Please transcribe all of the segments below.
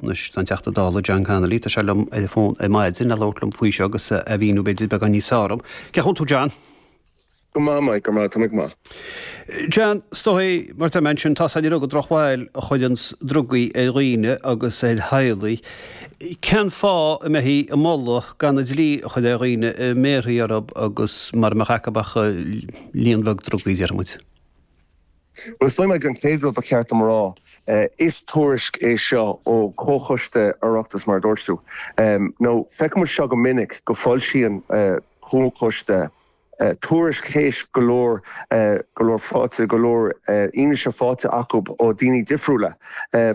Anois tá an Teachta Dála John Connolly, tá sé liom ar an bhfón ar maidin le labhairt liom faoi seo agus a mhíniú b'fhéidir beagán níos fearr dom. Cén chaoi a bhfuil tú John? Go maith, Mike, go maith, tá mé go maith. John, is dóigh, mar a deir mé ansin, tá a fhios againn gur drochbhail a chuireanns drugaí ar dhaoine agus ar theaghlaigh. Cén fáth a mbeifí ag moladh gan an dlí a chur ar dhaoine a mbéarfaí orthu agus mara mbeadh acu ach líon bheag drugaí, déarfaidh muid? Bhuel, is dóigh, Mike, an chéad rud ba cheart dom a rá, is tuairisc é seo ó Chomhchoiste Oireachtais, mar a dúirt tú. Nó feicimid seo go minic, go foilsíonn comhchoiste tuairisc théis go leor, go leor faighte, go leor fhianaise faighte acu ó daoine difriúla.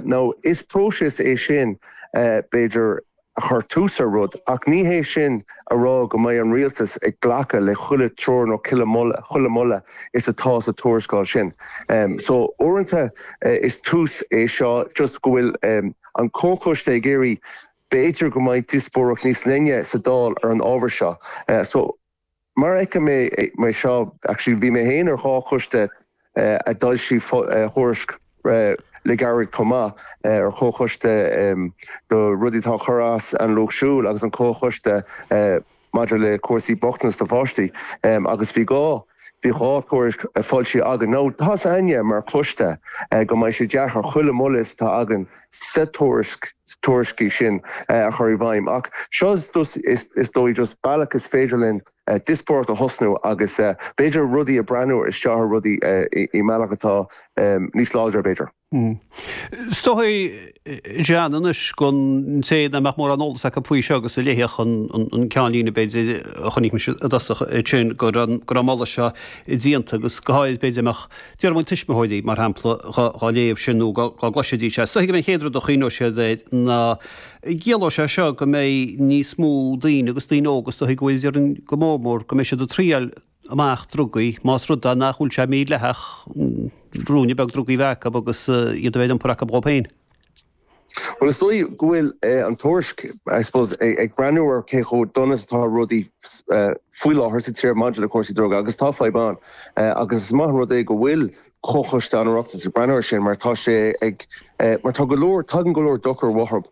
Now, is próiseas é sin, b'fhéidir, a chur tús ar rud, ach ní hé sin a rá go mbeidh an rialtas ag glacadh le chuile treoir nó chuile moladh, chuile moladh is atá sa tuarascáil sin. So, uaireanta is tús é seo, just go bhfuil an comhchoiste ag iarraidh b'fhéidir go mbeidh díospóireacht níos leithne sa Dáil ar an ábhar seo. So, mar a fheicim é seo, actually bhí mé féin ar dhá choiste a d'fhoilsigh thuairisc le gairid chomh maith, ar chomhchoiste do rudaí atá ag cur as an Lucht Siúil agus an comhchoiste maidir le cúrsaí bochtanas do pháistí agus bhí dhá bhí dhá thuairisc foilsithe againn. Now tá 's againne mar choiste go mbeidh sé deacair chuile mholadh is atá againn sa tuairisc tuairiscí sin a chur i bhfeidhm ach seo is dóigh just bealach is féidir linn díospóireacht a thosnú agus b'fhéidir rudaí a breathnú isteach ar rudaí i mbealach atá níos láidre b'fhéidir. Is dóigh, John, anois don té nach mbeadh mórán eolas acu faoi seo agus a léifeadh an ceannlíne b'fhéidir a chonaic mise i dtosach ansin go raibh an moladh seo déanta agus go háirid b'fhéidir mbeadh déarfaidh muid tuismitheoirí mar shampla dhá léamh sin nó dhá gcloisfidís é. Is dóigh go mbeidh an chéad rud a chuimhneoidh siad air ná gciallóidh sé seo go mbeidh níos mó daoine agus daoine óga is dóigh go bhfuil déarfainn go mór mór go mbeidh siad ag triail amach drugaí, más rud é nach bhfuil sé mídhleathach ruainne beag drugaí a bheith acu agus iad a bheith ar iompar acu dhóibh féin. Bhuel, is dóigh go bhfuil an tuairisc, I suppose, ag breathnú ar cé chomh dona is atá rudaí faoi láthair sa tír maidir le cúrsaí druga agus tá fadhb ann agus is maith an rud é go bhfuil Comhchoiste an Oireachtais ag breathnú air sin mar tá sé ag, mar tá go leor, tagann go leor dochar uathu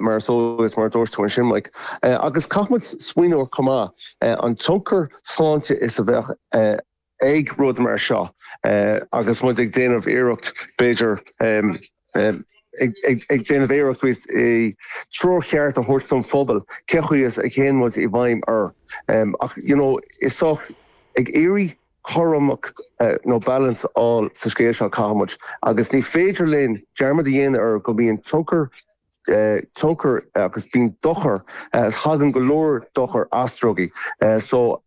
mar is eol duit, mar a dúirt tú ansin Mike. Agus caithfidh muid smaoineamh chomh maith an tionchar sláinte is a bheadh ag rud mar seo agus muid ag déanamh iarracht b'fhéidir ag déanamh iarracht treoir cheart a thabhairt don phobal cé chaoi is a théann muid i bhfeidhm air. Ach you know is sách ag iarraidh cothromacht nó balance a fháil sa scéal seo, caithfidh muid, agus ní féidir linn dearmad a dhéanamh ar go mbíonn tionchar, tionchar agus bíonn dochar, tagann go leor dochar as drugaí. So,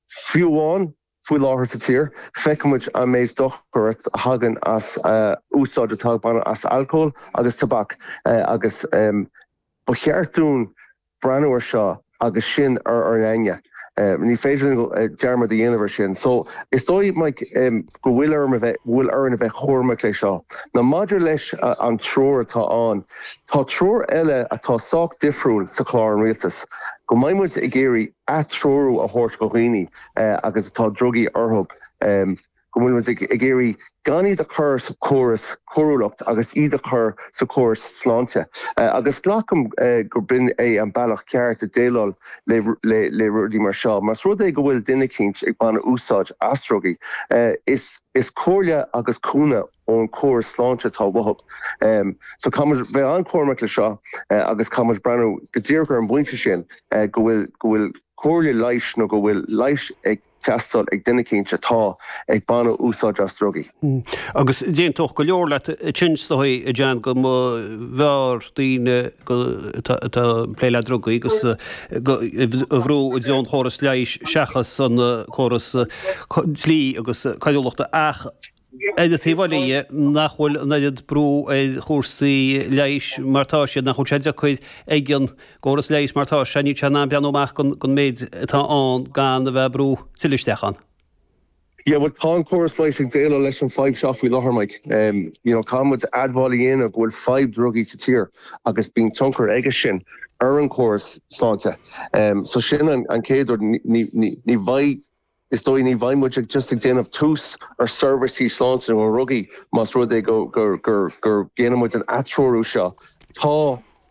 fiú amháin faoi láthair sa tír, feiceann muid an méid dochar a thagann as úsáid atá ag baineadh as alcól agus tobac agus ba cheart dúinn breathnú ar seo agus sin ar ár n-aigne. Ní féidir linn dearmad a dhéanamh ar sin. So, is dóigh, Mike, go bhfuil orm a bheith, go bhfuil orainn a bheith cúramach le seo. Now maidir leis an treoir atá ann, tá treoir eile atá sách difriúil sa chlár an Rialtais, go mbeidh muid ag iarraidh atreorú a thabhairt do dhaoine agus atá drugaí orthu. go bhfuil muid ag iarraidh gan iad a chur sa chóras coiriúlacht agus iad a chur sa chóras sláinte. Agus glacaim gur b'in é an bealach ceart a déileáil le rudaí mar seo. Más rud é go bhfuil duine eicínt ag baint úsáid as drugaí, is comhairle agus cúnamh ón chóras sláinte atá uathu. So caithfidh muid bheith an-chúramach le seo agus caithfidh muid breathnú go díreach ar an bpointe sin go bhfuil go bhfuil comhairle leighis nó go bhfuil leigheas ag teastáil ag duine eicínt atá ag baineadh úsáid as drugaí. Agus d'aontódh go leor leat ansin is dóigh, a John, go mb'fhearr daoine atá ag plé le drugaí agus a bhrú i dtreo an chóras leighis seachas an córas dlí agus coiriúlachta ach ar an taobh eile dhe, nach bhfuil an oiread brú ar chúrsaí leighis mar atá siad, nach bhfuil sé deacair ag an gcóras leighis mar atá sé, níl sé in ann breathnú amach don méid atá ann gan a bheith ag brú tuilleadh isteach ann. Yeah, bhuel tá an córas leighis ag déileáil leis an fadhb seo faoi láthair, Mike. You know, caithfidh muid admháil a dhéanamh go bhfuil fadhb drugaí sa tír agus bíonn tionchar aige sin ar an chóras sláinte. So sin an chéad rud, ní, ní, ní bheidh Is dóigh ní bheidh muid ag just ag déanamh tús ar seirbhísí sláinte nó drugaí más rud é go gur gur gur déanann muid an atreorú seo. Tá.